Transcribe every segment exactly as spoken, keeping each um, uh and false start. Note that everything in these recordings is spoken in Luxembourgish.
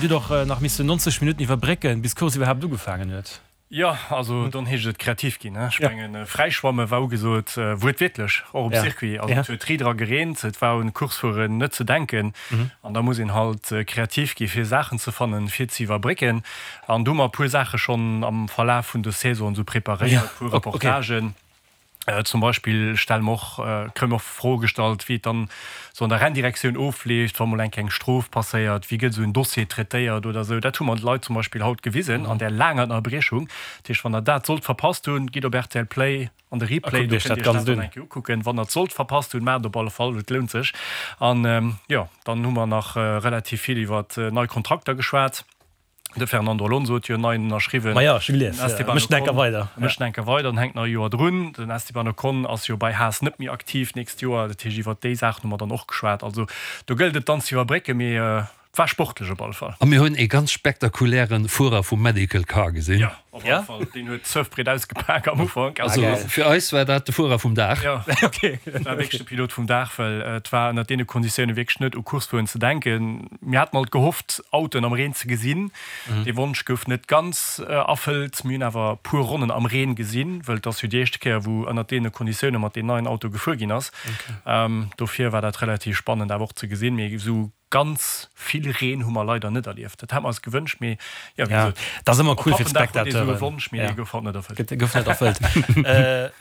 Dir hutt och nach missen neunzeg Minutten iwwerbrécken, bis d'Course iwwerhaapt ugefaangen huet. Jo, also dann heescht et kreativ ginn. Ech mengen, fräischwamme war ugesot, wuertwiertlech, och um Circuit. Also et huet riit era gereent, et war un Coursefueren net ze denken. An da muss een halt kreativ gi fir Saachen ze fannen, fir ze iwwerbrécken. An do hu mer e puer Saache schonn am Verlaf vun der Saison esou preparéiert, e puer Reportagen. Zum Beispill stelle mer och, kréie mer och Froe gestallt, wéi et dann esou an der Renndirektioun ofleeft, wa mol eng kleng Strof passéiert, wéi gëtt esou en Dossier traitéiert oder esou. Dat hu mer de Leit zum Beispill haut gewisen an där laanger Ënnerbriechung. Dat heescht, wann Der dat sollt verpasst hunn, gitt op rtl Play an de Replay, do kënnt Dir iech dat dann eng Kéier ukucken. Wann Der et sollt verpasst hunn, maacht et op alle Fall, et lount sech. An jo, dann hu mer nach relativ vill iwwer nei Kontrakter geschwat. De Fernando Alonso huet jo en neien ënnerschriwwen. Ma jo, ech hu gelies. Den Esteban Mécht en enker Ocon weider. mécht en enker weider an hänkt nach e Joer drun. Den Esteban Ocon ass jo bei Haas net méi aktiv d'nächst Joer. Dat heescht, iwwert déi Saachen hu mer dann och geschwat. Also do gëllt et dann ze iwwerbrécken, mee et war sportlech op alle Fall. A mir hunn ee ganz spektakuläre Fuerer vum Medical Car gesinn. Jo, op alle Fall. Deen huet d'Surfbriet ausgepak am Ufank. Also fir eis war dat de Fuerer vum Dag. Jo, dat war wierklech de Pilot vum Dag, well et war ënnert deene Konditioune wierklech net u Course fueren ze denken. Mir haten alt gehofft, Autoen am Reen ze gesinn. Dee Wonsch gouf net ganz erfëllt. Mir hunn awer e puer Ronnen am Reen gesinn, wëll et ass jo déi éischte Kéier, wou ënnert deene Konditioune mat deem neien Auto gefuer ginn ass. Dofir war dat relativ spannend awer och ze gesinn. Mee esou ganz vill Reen hu mer leider net erlieft. Dat hate mer eis gewënscht, mee jo, wéi gesot, Dat ass ëmmer op cool fir Pappendag huet ee esou e d'Spectateuren. Wonsch, mee dee gouf haut net erfëllt. Gouf net erfëllt.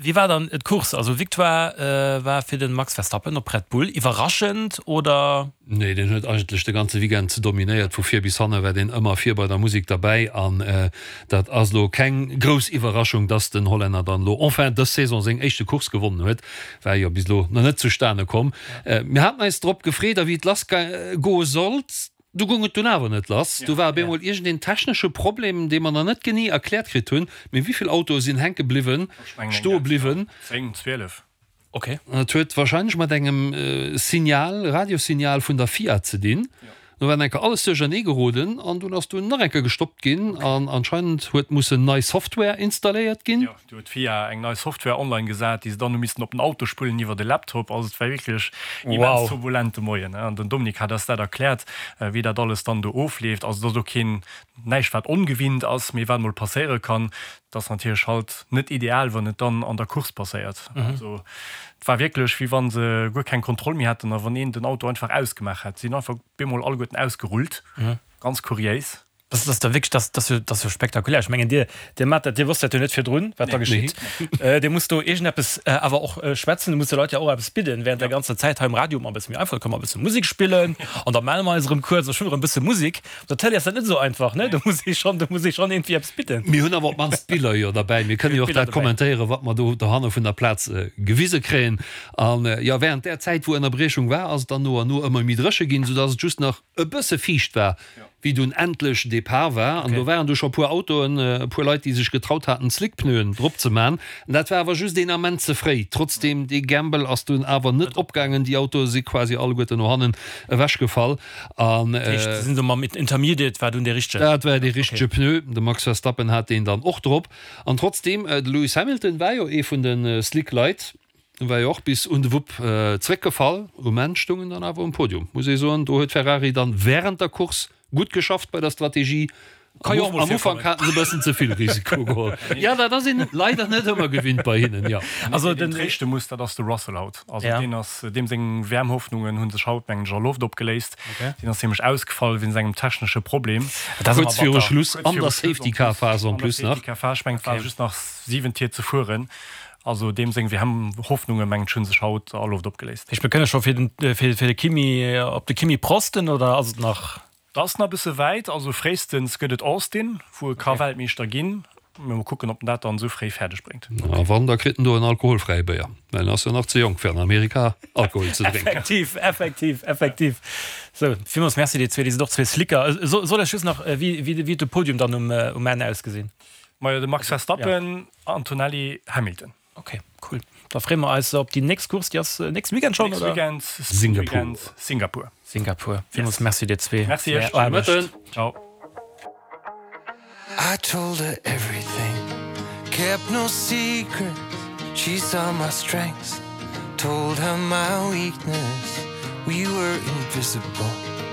Wéi war dann d'Course? Also Victoire war fir de Max Verstappen op Red Bull. Iwwerraschend oder? Nee, deen huet eigentlech de ganze Weekend dominéiert. Vu vir bis hanne war deen ëmmer vir bei der Musek derbäi. An dat ass elo keng grouss Iwwerraschung, dass den Hollänner dann elo enfin dës Saison seng éischte Course gewonnen huet. War jo bis elo nach net zustane komm. Mir haten eis drop gefreet a wéi et lass goe sollt, du goung et dunn awer net lass. Du war op eemol iergendeen technesche Problem, dee mer nach net genee erkläert kritt hunn. Mee wéi vill Autoe sinn hänke bliwwen, stoe bliwwen? Zéng, zwielef. Ok. Et huet wahrscheinlech mat engem Signal, Radiosignal vun der F I A ze dinn. Do war enker alles duerchernee geroden an dunn ass dunn nach enker gestoppt ginn an anscheinend huet mussen nei Software installéiert ginn. Jo, do huet d'F I A eng nei Software online gesat, déi se dann hu missen op den Auto spullen iwwer de Laptop. Also et war wierklech immens Wow. turbulent de Moien. An den Dominique hat eis dat erkläert, wéi dat alles dann do ofleeft. Also et ass och keen, näischt wat ongewinnt ass, mee wat emol passéiere kann. Et ass natierlech halt net ideal, wann et dann an der Course passéiert. Also et war wierklech, wéi wa se guer keng Kontroll méi hätten a wann een den Auto einfach ausgemaach hätt. Si sinn einfach bemol alleguerten ausgerullt. Ganz kuriéis. Dat ass da wierklech, dat ass jo, dat ass jo spektakulär. Ech mengen, Dir, Dir maacht dat, Dir wosst dat jo net virdrun, wat da geschitt. Dir musst do iergendeppes awer och schwätzen, Du musst de Leit jo och eppes bidden während der ganzer Zäit. Hei um Radio hu mer e bësse méi einfach, da kënne mer e bësse Musek spillen an da melle mer eis erëm kuerz a spille erëm e bësse Musek. Op der Tëlee ass dat net esou einfach, ne? Do muss ee schonn, do muss ee schonn iergendwéi eppes bidden. Mir hunn awer op d'mannst d'Biller jo derbäi. Mir kënnen jo och dat kommentéieren, wat mer do dohanne vun der Plaz gewise kréien. An, jo, während där Zäit, wou Ënnerbriechung war, ass et dann no an no ëmmer méi dréche ginn, soudass et just nach e bësse fiicht war, wéi dunn endlech Depart war. An do waren du scho puer Autoen, e puer Leit, déi sech getraut haten, Slickpneuen drop ze man. Dat war awer just een Ament ze fréi. Trotzdeem, dee Gamble ass dunn awer net opgaangen. Déi Autoe si quasi alleguerten no hannen ewechgefall. An. Dat heescht, se sinn do mam Intermediate war dunn dee richtegen? Dat war dee richtege Pneu. De Max Verstappen hat deen dann och drop. An trotzdeem, de Lewis Hamilton war jo ee vun de Slick-Leit, war jo och bis un de Wupp zeréckgefall. Um Enn stoung en dann awer um Podium, muss ee soen. Do huet Ferrari dann wärend der Course gutt geschafft bei der Strategie. Ka jo och mol Am Ufank virkommen. haten se e bëssen ze vill Risiko geholl. Jo, dat ass een leider net ëmmer gewinnt bei hinnen, jo. Also Deen den. tréischte muss, dat ass de Russell haut. Also Ja. deen ass, deem seng W M-Hoffnungen hu sech haut, mengen ech, a Loft opgeléist. Okay. Deen ass nämlech ausgefall wéinst engem technesche Problem. Dat ass ëmmer Kuerz viru batter. Schluss Kuerz an viru der Schluss en Safety plus, Car Phase en an der plus nach. Safety Car Phase, ech mengen, et ware Okay. just nach siwen Tier ze fueren. Also deem seng W M-Hoffnungen, mengen ech, hu sech haut a Loft opgeléist. Heescht, mir kënne scho fir den, fir, fir de Kimi, op de Kimi prosten oder ass et nach? Dat ass nach e bësse wäit. Also fréistens gëtt et Austin, wou e ka Weltmeeschter ginn. Mee mol kucken, ob en dat dann esou fréi fäerdeg bréngt. A wann, da kritt en do en alkoholfräie Béier, well en ass jo nach ze jonk fir an Amerika Alkohol ze drénken. Effektiv, effektiv, effektiv. Sou, villmools Merci dir zwee, dir sidd och zwee Slicker. Soll ech just nach, wéi, wéi huet de Podium dann um, um Enn ausgesinn? Majo, de Max Verstappen, Antonelli, Hamilton. Ok, cool. Da freeë mer eis op déi nächst Course, déi ass nächste Weekend schonn, Nächste oder? Weekend, Singapur. Weekend, Singapur. Singapur. Villmools Merci dir zwee Merci fir iech. är Aarbecht. Mëtten. Ciao. I told her everything, kept no secrets. She saw my strengths, told her my weakness. We were invisible.